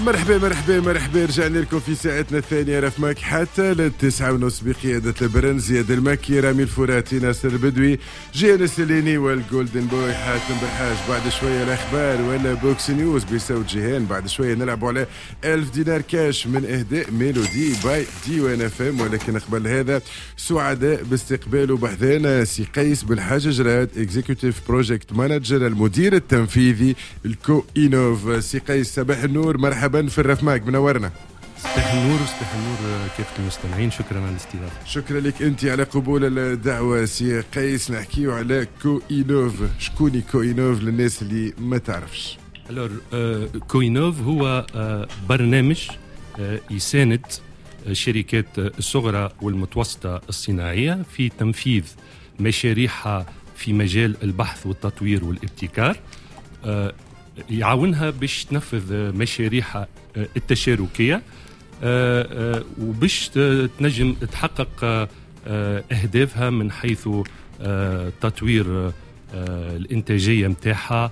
مرحبا مرحبا مرحبا، رجعنا لكم في ساعتنا الثانية رفمك حتى لل9:30 بقيادة البرنس زياد المكي، رامي الفراتي، ناصر البدوي، جيان السليني وال golden boy حاتم بالحاج. بعد شوية الأخبار ولا box news بصوت جيهان. بعد شوية نلعبوا على 1000 دينار كاش من إهداء ميلودي by ديوان اف ام. ولكن قبل هذا سعداء باستقباله بحذانا سي قيس بالحاج جراد، executive project manager، المدير التنفيذي ال Co-Innov. سي قيس، صباح النور، مرحبا في الرفماك، منورنا. صباح النور وصباح النور كافة المستمعين، شكرا على الاستضافة. شكرا لك انت على قبول الدعوة. سي قيس، نحكيو على Co-Innov. شكوني Co-Innov للناس اللي ما تعرفش؟ alors Co-Innov هو برنامج يساند الشركات الصغرى والمتوسطة الصناعية في تنفيذ مشاريعها في مجال البحث والتطوير والابتكار، يعاونها باش تنفذ مشاريعها التشاركيه وباش تنجم تحقق اهدافها من حيث تطوير الانتاجية نتاعها،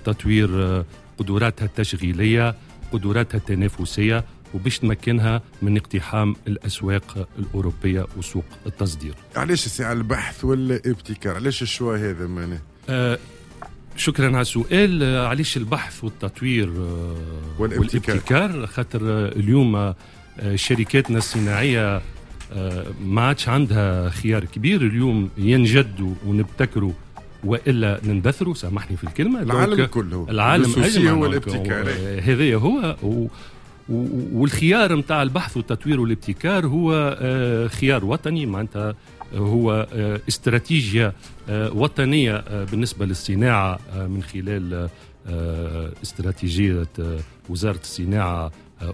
تطوير قدراتها التشغيليه، قدراتها التنافسيه، وباش تمكنها من اقتحام الاسواق الاوروبية وسوق التصدير. علاش الساعة البحث والابتكار؟ علاش ال choix هذا معناه؟ شكرا على السؤال. علاش البحث والتطوير والابتكار؟ والابتكار، خاطر اليوم شركاتنا الصناعية ما عادش عندها خيار كبير. اليوم يا نجدوا ونبتكروا والا نندثروا، سامحني في الكلمه. العالم كله. العالم اجمع هو الابتكار. هذا هو، والخيار نتاع البحث والتطوير والابتكار هو خيار وطني، معناتها هو استراتيجية وطنية بالنسبة للصناعة من خلال استراتيجية وزارة الصناعة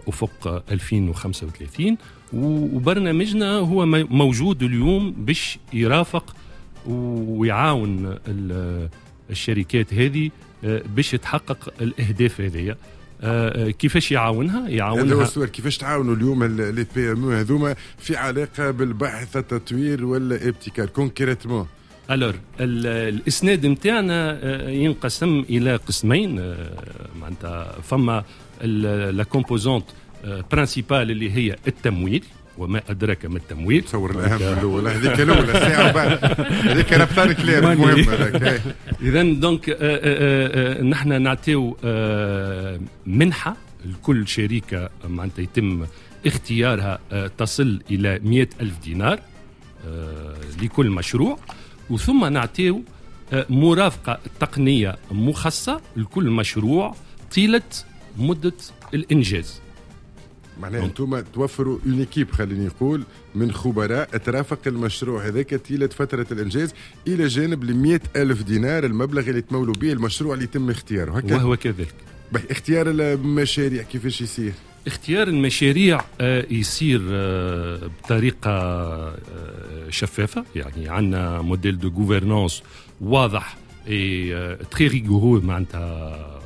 افق 2035. وبرنامجنا هو موجود اليوم باش يرافق ويعاون الشركات هذه باش تحقق الاهداف هذه. كيفاش يعاونها؟ يعاونها، هذا هو السؤال، كيفاش تعاونوا اليوم les PME هذوما في علاقة بالبحث، التطوير والابتكار concrètement؟ alors الاسناد نتاعنا ينقسم الى قسمين. معناتها فما la composante principale اللي هي التمويل، وما ادراك ما التمويل. تصور الاهم الاول، هذيك الاولى الساعة بعد هذيك ربطان كلام مهم. اذا donc نحن نعطيو منحه لكل شركة معناتها يتم اختيارها تصل الى 100 ألف دينار لكل مشروع، وثم نعطيو مرافقة تقنية مخصصة لكل مشروع طيلة مده الانجاز. معناها انتم توفروا une équipe، خليني نقول، من خبراء ترافق المشروع هذاك طيلة فترة الانجاز، الى جانب ال ألف دينار، المبلغ اللي تمولوا به المشروع اللي يتم اختياره. هكا وهو كذلك. اختيار المشاريع كيفاش يصير؟ اختيار المشاريع يصير بطريقة شفافة، يعني عندنا modèle de gouvernance واضح et très rigoureux، معناتها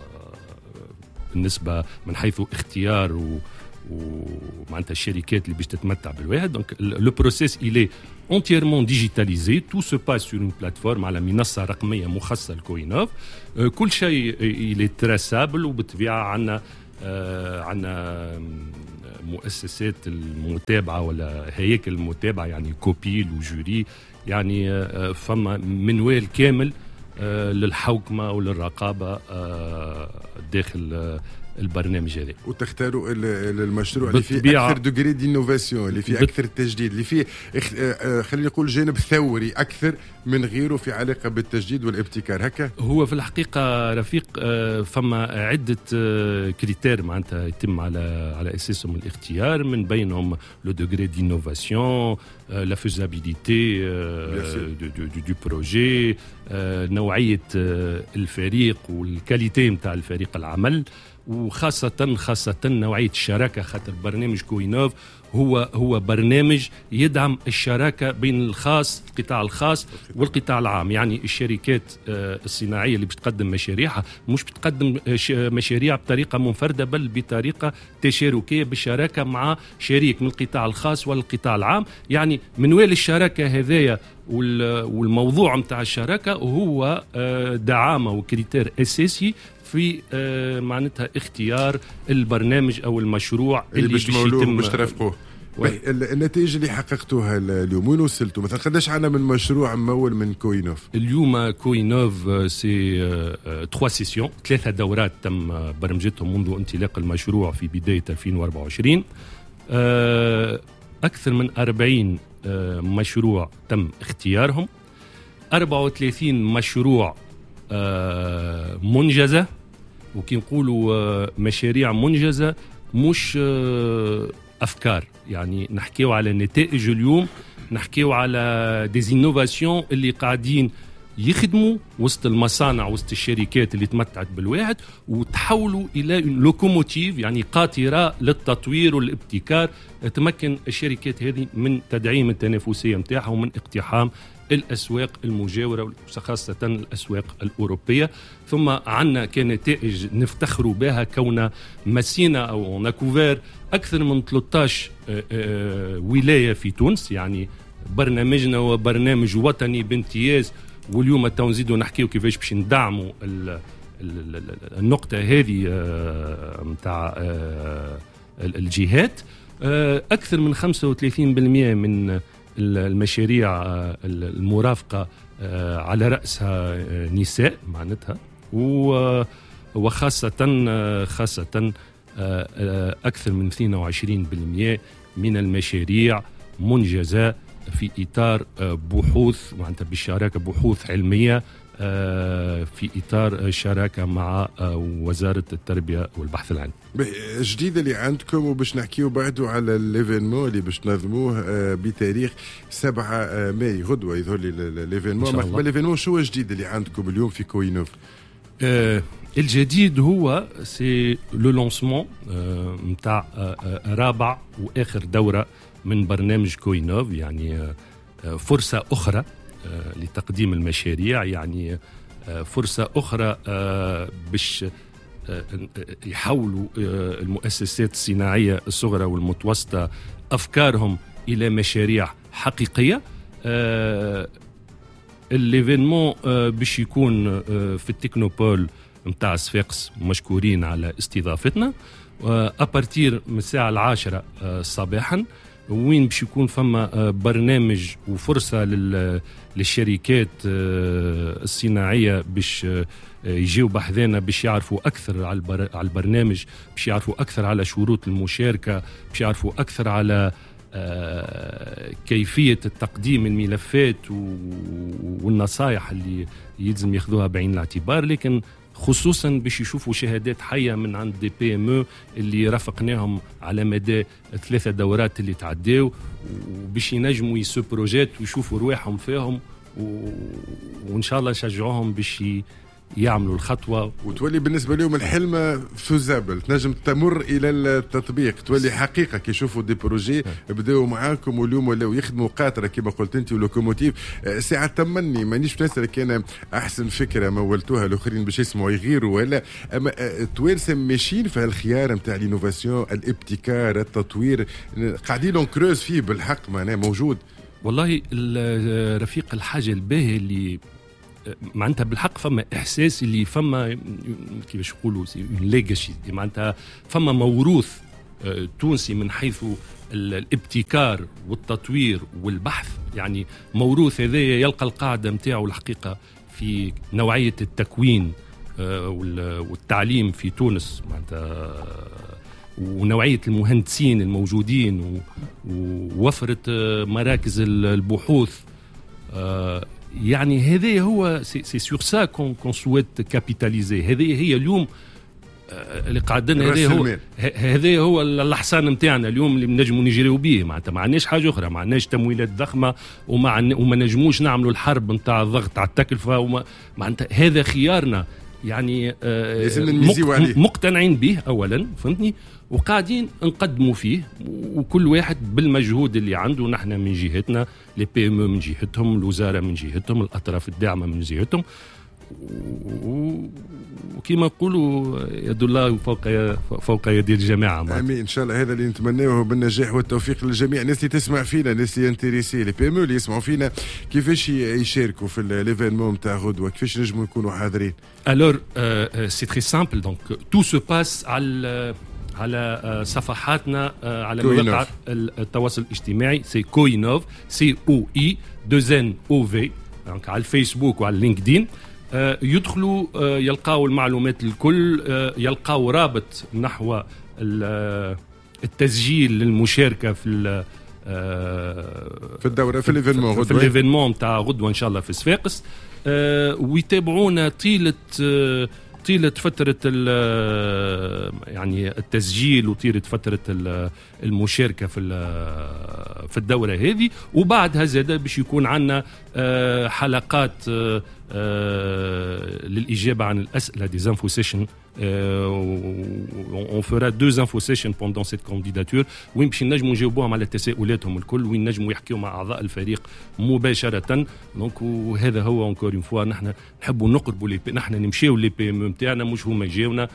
بالنسبة من حيث اختيار ومعناتها الشركات اللي باش تتمتع بالواحد. donc le processus il est entièrement digitalisé، tout se passe sur une plateforme، على منصة رقمية مخصصة ل Co-Innov. كل شيء il est traçable. وبالطبيعه عندنا مؤسسات المتابعة ولا هياكل المتابعه، يعني COPIL و jury، يعني فما منوال كامل للحوكمه وللرقابه داخل البرنامج هذا. وتختاروا المشروع اللي فيه اكثر degré d'innovation، اللي فيه اكثر تجديد، اللي فيه خلينا نقول جانب ثوري اكثر من غيره في علاقة بالتجديد والابتكار، هكا؟ هو في الحقيقة رفيق فما عده critères معناتها يتم على اساسهم الاختيار، من بينهم le degré d'innovation، la faisabilité du projet، نوعية الفريق وال qualité نتاع الفريق العمل، وخاصة خاصة نوعية الشراكة، خاطر برنامج Co-Innov هو برنامج يدعم الشراكة بين القطاع الخاص والقطاع العام. يعني الشركات الصناعية اللي بتقدم مشاريعها مش بتقدم مشاريع بطريقة منفردة، بل بطريقة تشاركية بالشراكة مع شريك من القطاع الخاص والقطاع العام. يعني منوال الشراكة هذايا والموضوع نتاع الشراكة هو دعامة و critère أساسي في في معناتها اختيار البرنامج او المشروع اللي باش يتم باش ترافقوه. النتائج اللي حققتوها اليوم، وين وصلتوا؟ مثلا قداش عندنا من مشروع ممول من Co-Innov؟ اليوم Co-Innov c'est 3 sessions، 3 دورات تم برمجتهم منذ انطلاق المشروع في بداية 2024. أكثر من 40 مشروع تم اختيارهم، 34 مشروع منجزة. وكي نقولوا مشاريع منجزة مش أفكار، يعني نحكيو على نتائج اليوم، نحكيو على des innovations اللي قاعدين يخدموا وسط المصانع، وسط الشركات اللي تمتعت بالواحد وتحولوا الى locomotive، يعني قاطره للتطوير والابتكار تمكن الشركات هذه من تدعيم التنافسية نتاعها ومن اقتحام الاسواق المجاورة، خاصة الاسواق الاوروبيه. ثم عندنا كنتائج نفتخر بها كون مسينا او on a couvert اكثر من 13 ولاية في تونس، يعني برنامجنا هو برنامج وطني بامتياز. واليوم تو نزيدوا نحكيو كيفاش باش ندعموا النقطة هذه نتاع الجهات. اكثر من 35% من المشاريع المرافقة على راسها نساء معناتها، وخاصة خاصة اكثر من 22% من المشاريع منجزه في اطار بحوث، معناتها بالشراكه، بحوث علمية في اطار شراكة مع وزارة التربية والبحث العلمي. الجديد اللي عندكم، وباش نحكيو بعده على l'événement اللي باش تنظموه بتاريخ 7 ماي، غدوه يظهر لي l'événement. قبل l'événement، شو الجديد اللي عندكم اليوم في Co-Innov؟ الجديد هو c'est le lancement نتاع رابع واخر دوره من برنامج Co-Innov، يعني فرصة اخرى لتقديم المشاريع، يعني فرصة اخرى باش يحولوا المؤسسات الصناعية الصغرى والمتوسطة افكارهم الى مشاريع حقيقيه. l'événement باش يكون في ال technopole نتاع صفاقس، مشكورين على استضافتنا، à partir من الساعة 10 صباحا، وين باش يكون فما برنامج وفرصه للشركات الصناعية باش يجيو بحذانا، باش يعرفوا اكثر على البرنامج، باش يعرفوا اكثر على شروط المشاركه، باش يعرفوا اكثر على كيفية التقديم الملفات والنصائح اللي يلزم ياخذوها بعين الاعتبار، لكن خصوصا باش يشوفوا شهادات حيه من عند des PME اللي رافقناهم على مدى 3 دورات اللي تعداو، وباش ينجموا ils se projettent ويشوفوا رواحهم فيهم، وان شاء الله نشجعوهم باش يعملوا الخطوه. وتولي بالنسبة لهم الحلم faisable، تنجم تمر الى التطبيق، تولي حقيقة كي يشوفوا des projets بداوا معاكم واليوم ولاو يخدموا قاطره كما قلت انت و locomotive. ساعة تمني مانيش نسالك انا احسن فكرة مولتوها، الاخرين باش يسمعوا يغيروا ولا، اما التوانسة ماشيين في الخيار نتاع l'innovation، الابتكار، التطوير، قاعدين on creuse فيه بالحق، معناه موجود. والله رفيق، الحاجة الباهيه اللي معناتها بالحق فما احساس اللي فما، كيفاش نقولوا، legacy، معناتها فما موروث تونسي من حيث الابتكار والتطوير والبحث، يعني موروث هذا يلقى القاعدة نتاعو الحقيقة في نوعية التكوين والتعليم في تونس، معناتها ونوعية المهندسين الموجودين ووفره مراكز البحوث. يعني هذا هو c'est sur ça qu'on souhaite capitaliser. هذه هي اليوم اللي قعدنا، هذا هو الحصان نتاعنا اليوم اللي نجموا نجريو به. معناتها ما عندناش حاجة اخرى، ما عندناش تمويلات ضخمه، وما نجموش نعملوا الحرب نتاع الضغط على التكلفه، وما معناتها هذا خيارنا، يعني مقتنعين به اولا، فهمتني، وقاعدين نقدموا فيه، وكل واحد بالمجهود اللي عنده، نحن من جهتنا، les PME من جهتهم، الوزارة من جهتهم، الاطراف الداعمة من جهتهم. وكما نقولوا يد الله فوق يد الجماعة. امين ان شاء الله، هذا اللي نتمناه بالنجاح والتوفيق للجميع. الناس اللي تسمع فينا، الناس اللي intéressés، les PME اللي يسمعوا فينا، كيفاش يشاركوا في l'événement نتاع غدوه؟ كيفاش نجموا يكونوا حاضرين؟ Alors c'est très simple، donc tout se passe على صفحاتنا على مواقع التواصل الاجتماعي، c'est Coinnov، C O I 2 N O V، donc على الفيسبوك وعلى لينكدين. يدخلوا يلقاو المعلومات الكل، يلقاو رابط نحو التسجيل للمشاركة في في الدورة، في l'événement غدوه، في l'événement تاع غدوه ان شاء الله في صفاقس. ويتابعونا طيلة فترة يعني التسجيل وطيلة فترة المشاركة في الدورة هذه. وبعدها زاد باش يكون عندنا حلقات للإجابة عن الأسئلة، des info sessions. on fera deux info sessions pendant cette candidature، وين باش نجموا نجاوبوهم على تساؤلاتهم الكل، وين نجموا يحكيوا مع أعضاء الفريق مباشرة. donc وهذا هو encore une fois، نحن نحبوا نقربوا نحن نمشيو les PME نتاعنا، مش هما يجيونا،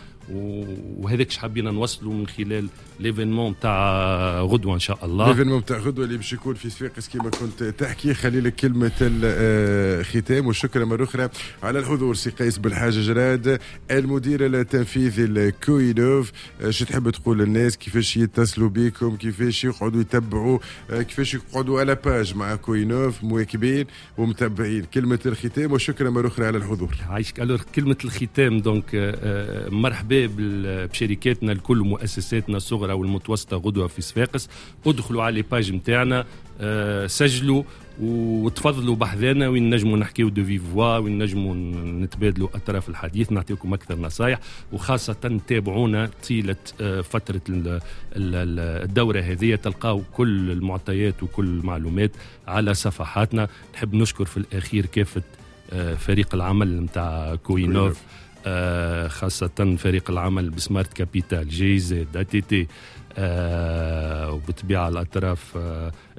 وهذاك حابين نوصلوا من خلال l'événement تاع غدوه ان شاء الله. l'événement تاع غدوه اللي باش يكون في صفاقس كما كنت تحكي. خلي لك كلمة الختام، والشكر مرة اخرى على الحضور سي قيس بالحاج جراد المدير التنفيذي ل Coinnov. شو تحب تقول للناس؟ كيفاش يتصلوا بكم؟ كيفاش يقعدوا يتبعوا؟ كيفاش يقعدوا على page مع Coinnov مواكبين ومتبعين؟ كلمة الختام وشكرا مرة اخرى على الحضور. عايشك. alors كلمة الختام، donc مرحبا بشركاتنا الكل ومؤسساتنا الصغرى والمتوسطة غدوة في صفاقس. ادخلوا على les pages نتاعنا، سجلوا وتفضلوا بحذانا، وين نجموا نحكيو de vive voix، وين نجموا نتبادلوا أطراف الحديث، نعطيكم أكثر نصايح، وخاصة تابعونا طيلة فترة الدورة هذه، تلقاو كل المعطيات وكل المعلومات على صفحاتنا. نحب نشكر في الأخير كافة فريق العمل نتاع Coinnov، خاصة فريق العمل ب Smart Capital، GIZ، ATT، وبالطبيعة الأطراف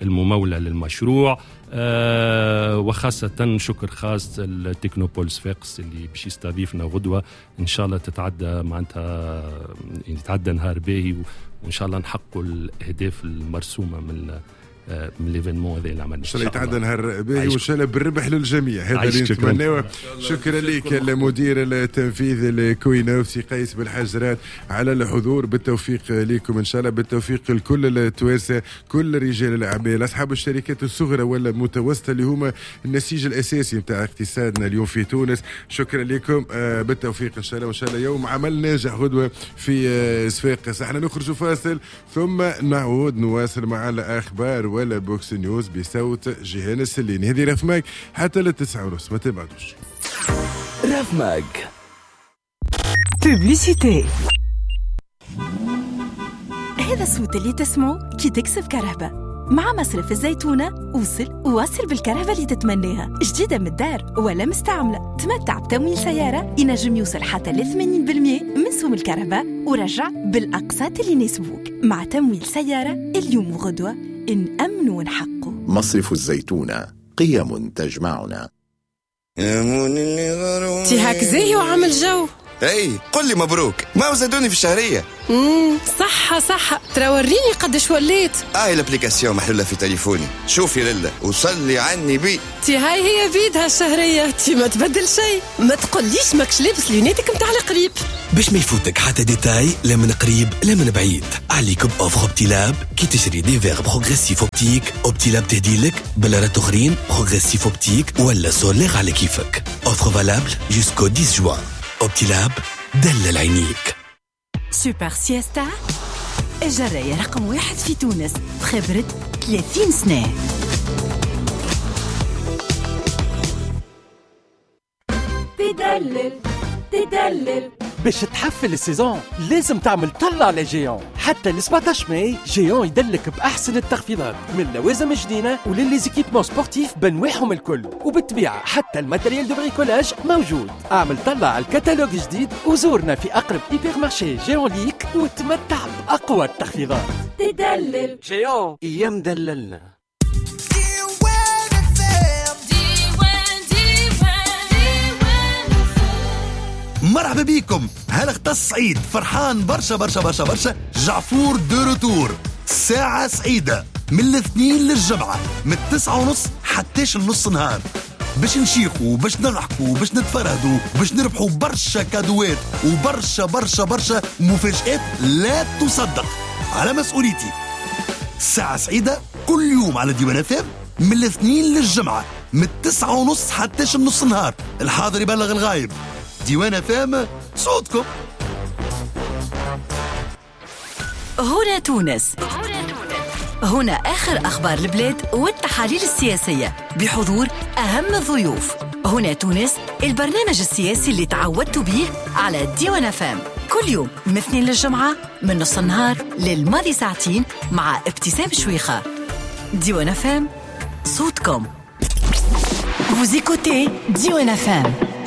الممولة للمشروع، وخاصة شكر خاص ال Technopole صفاقس اللي باش يستضيفنا غدوة. إن شاء الله تتعدى معناتها يتعدى نهار باهي، وإن شاء الله نحققوا الأهداف المرسومة من l'événement هذا اللي عملنا. ان شاء الله يتعدى نهار باهي، وان شاء الله بالربح للجميع، هذا اللي نتمناه. شكرا لك المدير التنفيذي ل Coinnov سي قيس بالحاج جراد على الحضور. بالتوفيق لكم ان شاء الله، بالتوفيق لكل التوانسة، كل رجال الاعمال، اصحاب الشركات الصغرى ولا المتوسطة اللي هما النسيج الاساسي نتاع اقتصادنا اليوم في تونس. شكرا لكم، بالتوفيق ان شاء الله، وان شاء الله يوم عمل ناجح غدوه في صفاقس. احنا نخرج فاصل ثم نعود نواصل مع الاخبار ولا Box News بصوت جيهان السليني. هذه Raf Mag حتى 9:30، ما تبعدوش. Raf Mag publicité. هذا الصوت اللي تسمعه كي تكسب كهرباء مع مصرف الزيتونة. وصل وواصل بالكهرباء اللي تتمناها، جديدة من الدار ولا مستعملة. تمتع بتمويل سيارة ينجم يوصل حتى ل 80% من سوم الكهرباء، ورجع بالأقساط اللي يناسبوك. مع تمويل سيارة اليوم وغدوة نأمن ونحقه. مصرف الزيتونة، قيم تجمعنا. تي هاك زاهي وعامل جو. اي قل لي مبروك، ما زادوني في الشهرية. صحة صحة، ترى وريني قداش وليت. l'application محلولة في تليفوني، شوفي لله وصلي عني بي. تي هاي هي بيدها الشهرية، تي ما تبدل شيء. ما تقوليش ماكش لابس lunettes ك متاع القريب. باش ما يفوتك حتى détail لا من قريب لا من بعيد، عليكم offre Optilab. كي تشري des verres progressifs optiques، Optilab تهديلك بلارات اخرين progressifs optiques ولا solaires على كيفك. offre valable jusqu'au 10 juin. Optilab، دلل عينيك. Super Siesta، الجراية رقم 1 في تونس بخبرة 30 سنة. تدلل تدلل باش تحفل ال saison لازم تعمل طلة على Géant. حتى ل 17 ماي Géant يدلك بأحسن التخفيضات من لوازم جديدة ول les équipements sportifs بنواعهم الكل، وبالطبيعة حتى ال matériel de bricolage موجود. اعمل طلة على الكتالوج جديد وزورنا في أقرب hypermarché Géant ليك وتمتع بأقوى التخفيضات. تدلل Géant، ايام دللنا. مرحبا بكم. هالاختص سعيد فرحان برشا برشا برشا برشا. جعفور de retour، ساعة سعيدة من الاثنين للجمعة من 9:30 حتى النص نهار، باش نشيخوا باش نضحكوا باش نتفرهدوا باش نربحوا برشا كادوات وبرشا برشا برشا مفاجآت لا تصدق. على مسؤوليتي، ساعة سعيدة كل يوم على ديوان FM من الاثنين للجمعة من 9:30 حتى النص نهار. الحاضر يبلغ الغايب. ديوان FM صوتكم. هنا تونس، هنا آخر أخبار البلاد والتحاليل السياسية بحضور أهم الضيوف. هنا تونس، البرنامج السياسي اللي تعودتوا به على ديوان FM كل يوم من اثنين للجمعة من نص النهار للماضي ساعتين مع ابتسام شويخة. ديوان FM صوتكم. Vous écoutez ديوان FM.